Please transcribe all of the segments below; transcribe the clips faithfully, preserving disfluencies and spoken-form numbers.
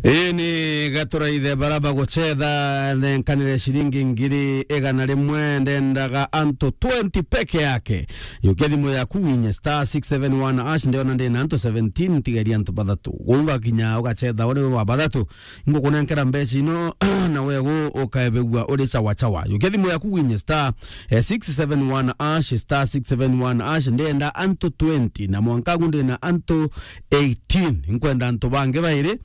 Ii ni gaturaithe bara bagucetha nenkanire ciringi ngiri igana rimwe, ndendaga antu twenty peke yake. Yukia thimu yaku winye star six seven one hash, ndiona ndina antu seventeen, tigeria antu bathatu. Ungakinya ugacetha uri wa bathatu, ngukunenkera mbeca ino, na wegu ukaebegua uri chawa chawa. Yukia thimu yaku winye star, eh, six seven one hash, star six seven one hash, ndenda antu twenty, na mwanka agu ndina antu eighteen. Nkwenda antu bangi bairi,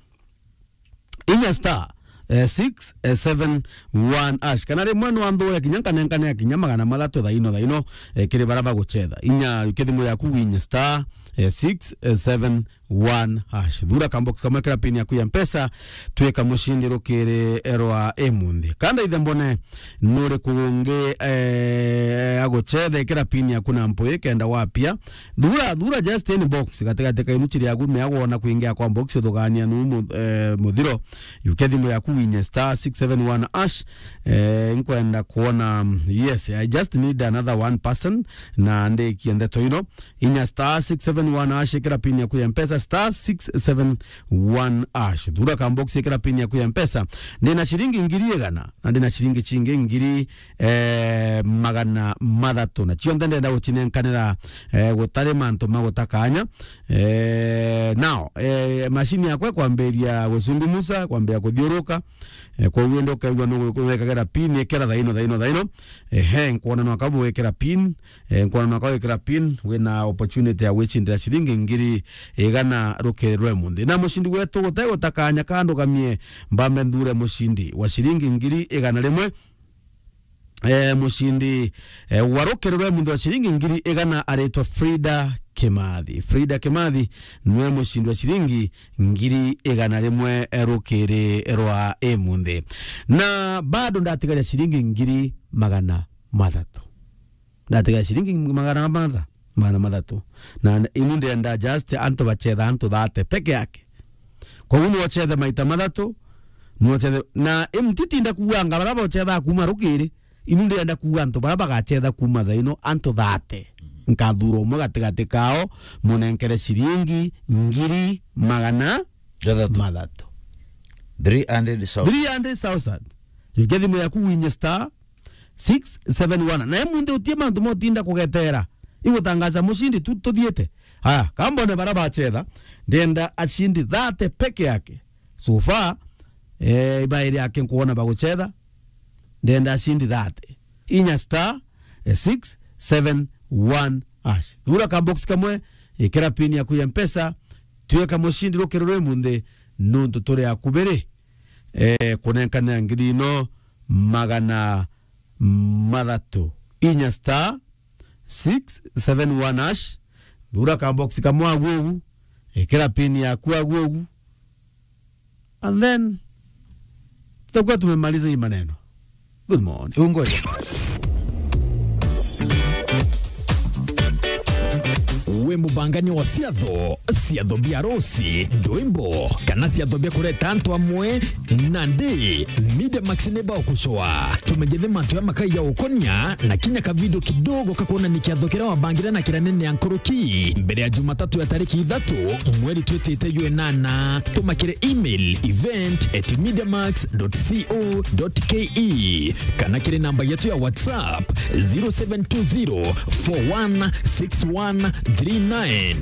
inya star, eh, six seven one hash. Kana rimwe no anthure kinya nkanenkane kinya magana mathatu thaino thaino, eh, kiri bara bagucetha. Inya yukia thimu yaku winye star, eh, six seven one hash. Thura kambox kamwe, ikira pin yaku ya Mpesa, twika mucindi rukiri rwa imunthi. Kanda ithe mbone nuri kugungi, eh, agucethe, ikira pin yaku na mpui kenda wapia. Thura, thura just any box gatigati ka inuchi riaku, mea wona kuingia kwa box, uthugania nu mu-, eh, muthiro. Yukia thimu yaku winye star six seven one hash. Eh, nkwenda kuona, mm, yes, I just need another one person, na ndikie ndeto ino. Inya star six seven one hash, ikira pin yaku ya Mpesa, star six seven one hash. Thura kambox, ikira pin yaku ya Mpesa. Ndina ciringi ngiri igana, na ndina ciringi cingi ngiri, eh, magana mathatu. Na cionthe ndenda gucinenkanira, eh, gutari mantu ma gutakanya. Eh, now, eh, mashini yakwa ikwambiria gucungumuca, kwambia kuthiuruka. Eh, koguo indi ukaigua nu wekagira pin, ikira thaino, thaino, thaino. Ehe, nkwona no kabu wikira pin. Eh, nkwona no kawikira pin, wina opportunity ya gwicindira ciringi ngiri igana rukiri rwa imunthi. Na mucindi wetu gutai gutakanya kandugamie, mbambe nthure mucindi wa ciringi ngiri igana rimwe. Eh, mucindi, eh, wa rukiri rwa imunthi wa ciringi ngiri igana aritwa Frida Kimathi. Frida Kimathi niwe mucindi wa ciringi ngiri igana rimwe, eh, rukiri rwa imunthi. Na bado ndatigaria ciringi ngiri magana mathatu. Ndatigaria ciringi magana matha-, magana mathatu. Na inu ndenda just antu bacetha antu thate peke yake. Koguo ni wacethe maita mathatu, ni wacethe, na imtitinda kuuga anga bara bocetha kuma rukiri, inu ndenda kuuga antu bara bagacetha kuma thaino antu thate. Nkathura umwe gatigati kao, munenkere ciringi ngiri magana mathatu. Three hundred thousand. Three hundred thousand. Yukia thimu yaku winye star six seven one. Na imunthi utie mantu motinda kugetera. Igutangaza mucindi tu tuthiite. Aya, kambone bara bacetha, ndenda acindi thate peke yake. So far, eh, ibairi yake nkuona bagucetha, ndenda acindi thate. Inya star, eh, six seven one hash. Thura kambox kamwe, ikira pin yaku ya Mpesa, tuika mucindi rukiri rwi munthi, nuntu turi akubiri, eh, kunenkanira ngiri ino magana mathatu. Inya star six seven one hash. Thura ka box kamwe agu ugu. Ikira pin yaku agu ugu. And then, tutakuwa tumemaliza hii maneno. Good morning. Ungoja. Wi mubangania wa ciatho, ciatho bia arusi, ndwimbo, kana ciatho bia kureta antu amwe? Nandi, Media Max ni bagucoa. Tumenyithe mantu ya makai ya ukonia na kinya ka video kidogo ka kuonania kiatho kiria wabangire na kiria nene ya nkuruki mbere ya Jumatatu ya tariki ithatu, mweri twitite jwa inana. Tuma kiri email event at mediamax dot co dot ke kana kiri namba yetu ya WhatsApp zero seven two zero four one six one three nine.